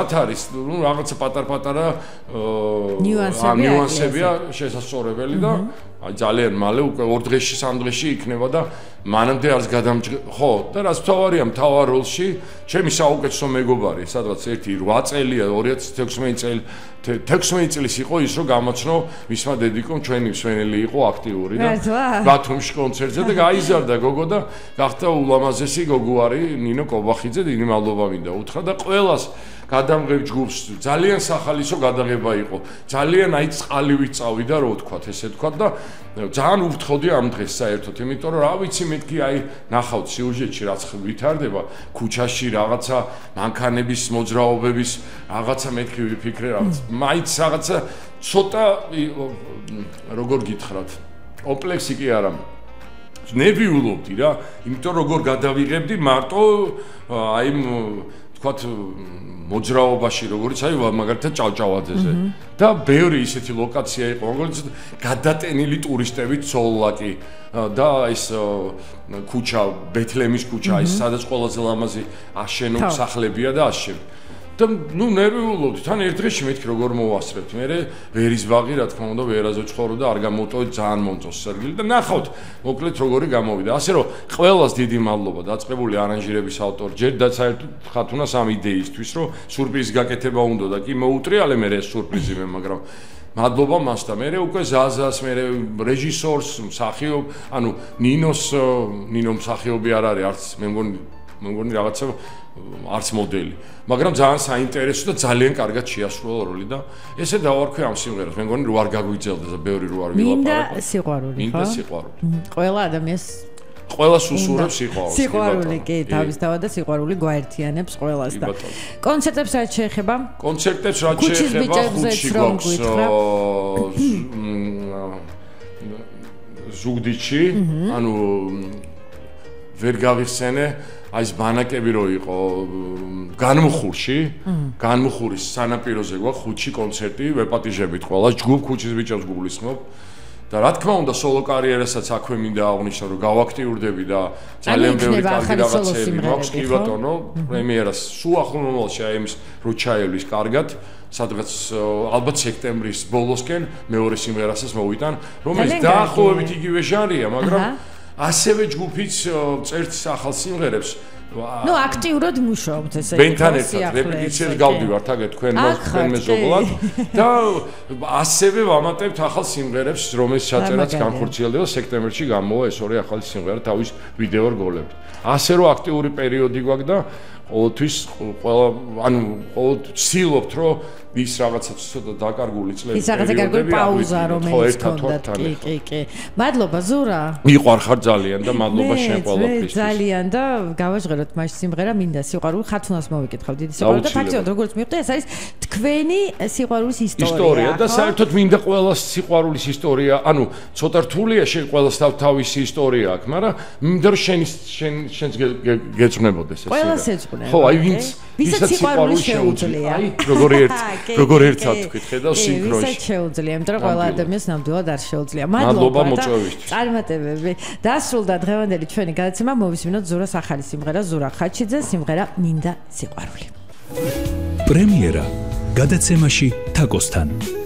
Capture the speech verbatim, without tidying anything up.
არის ნუ რაღაცა პატარ-პატარა ნიუანსებია შესაძლებელი და აი ძალიან მალე უკვე ორ დღეში სამ დღეში იქნება და მანამდე არც გადამჭ ხო და რაც თავარია მთავარ როლში ჩემი საუკეთესო მეგობარი სადღაც ერთი რვა წელია ორი ათას თექვსმეტი წელი თექვსმეტი წლის იყო ის რომ გამოცნო მისმა დედიკომ ჩვენი მსვენელი იყო აქტიური და ბათუმში კონცერტზე და გაიზარდა გოგო და გახდა ულამაზესი გოგო არის ნინო კობახიძე დიდი მადლობა მინდა უთხრა და ყველას გადამღებ ჯგუფს ძალიან სახალისო გადაღება იყო ძალიან აი წყალივით წავიდა რო ვთქვათ ესე ვთქვათ და ძალიან უფრთხოდი ამ დღეს საერთოდ იმიტომ რომ რა ვიცი მეთქი აი ნახავთ სიუჟეტში რაც ვითარდება ქუჩაში რაღაცა მანქანების მოძრაობების რაღაცა მეთქი ვიფიქრე რაღაც მაინც რაღაცა ცოტა როგორ გითხრათ კომპლექსი კი არა ნერვიულობდი რა იმიტომ როგორ გადავიღებდი მარტო აი ვთქვათ მოძრაობაში როგორც აი მაგალითად ჭავჭავაძეზე და ბევრი ისეთი ლოკაცია იყო როგორც გადატენილი ტურისტებით ცოლლაკი და ეს ქუჩა ბეთლემის ქუჩა ის სადაც ყველაზე ლამაზი აშენო სახლებია და ასე და ნუ ნერვიულობდი თან ერთ დღეში მეთქი როგორ მოვასწრებთ მე ვერის ბაღი რა თქმა უნდა ვერაზე ვცხოვრო და არ გამოვტოვეთ ძალიან მომწონს სერგილი და ნახავთ მოკლედ როგორი გამოვიდა ასე რომ ყველას დიდი მადლობა დაწყებული არანჟირების ავტორ ჯერ და საერთოდ ხათუნას ამ იდეისთვის რომ სურპრიზი გაკეთება უნდა და კი მოუტრიალე მე ეს სურპრიზი მე მაგრამ მადლობა მას და მე უკვე ზაზას მე რეჟისორს მსახიობ ანუ ნინოს ნინო მსახიობი არ არის არც მე მგონი მე მგონი რაღაცა არც მოდელი მაგრამ ძალიან საინტერესო და ძალიან კარგად შეასრულა როლი და ესე დავარქვი ამ სიმღერას მე მგონი რო არ გაგვიძელდა და ბევრი რო არ ვილაპარაკო მინდა სიყვარული ხო მინდა სიყვარული ყველა ადამიანს ყველას უსურვებს სიყვარულს სიყვარული კი თავისთავად და სიყვარული გვაერთიანებს ყველას და კონცერტებს რაც შეეხება კონცერტებს რაც შეეხება ხუთში გვაქვს ზუგდიდში ანუ ვერ გავიხსენე აი ეს ბანაკები რო იყო განმხურში განმხურის სანაპიროზე გვაქვს ხუთში კონცერტი ვეპატიჟებით ყველა ჯგუფ ქუჩის ბიჭებს გულისხმობ და რა თქმა უნდა სოლო კარიერასაც აქვე მინდა აღვნიშნო რომ გავაქტიურდები და ძალიან ბევრი კარგი რაღაცები მაქვს კი ბატონო პრემიერას სულ ახლო მომავალში აი ამის რო ჩაევლის კარგად სადღაც ალბათ სექტემბრის ბოლოსკენ მეორე სიმღერასაც მოვიტან რომელიც დაახლოებით იგივე ჟანრია მაგრამ ასევე ჯგუფიც წერს ახალ სიმღერებს ნუ აქტიურად მუშაობთ ესე იგი ბენთან ერთად რეპეტიციებს გავდივართ აგე თქვენ თქვენ მეზობლად და ასევე ვამატებთ ახალ სიმღერებს რომელიც ჩაწერაც განხორციელდება სექტემბერში გამოვა ეს ორი ახალი სიმღერა თავის ვიდეო რგოლებით ასე რომ აქტიური პერიოდი გვაქვს და ყოველთვის ყველა ანუ ყოველთვის ვცდილობთ რომ ის რაღაცა ცოტა დაკარგული წლები ის რაღაცა კარგი პაუზა რომელიც გქონდათ კი კი კი მადლობა ზურა მიყვარხარ ძალიან და მადლობა შენ ყველაფრისთვის ძალიან და გავაჟღეროთ მაშინ სიმღერა მინდა სიყვარული ხათუნას მოვიკითხავ დიდი სიყვარული და ფაქტობრივად როგორც მივხვდი ეს არის თქვენი სიყვარულის ისტორია და საერთოდ მინდა ყველას სიყვარულის ისტორია ანუ ცოტა რთულია შენ ყველას თავისი ისტორია აქვს მაგრამ მინდა რომ შენ შენ შენს გეწვნებოდეს ეს ყველას ეწვნე ხო აი ვინც ვისაც სიყვარული შეუძლია აი როგორი ერთ როგორ ერთად თქვით ხედავ სინქრონში ვისაც შეუძლია იმიტომ რომ ყველა ადამიანს ნამდვილად არ შეუძლია მადლობა მოწვევისთვის წარმატებები დასრულდა დღევანდელი ჩვენი გადაცემა მოვისმინოთ ზურას ახალი სიმღერა ზურა ხაჩიძე სიმღერა მინდა სიყვარული პრემიერა გადაცემაში თაკოსთან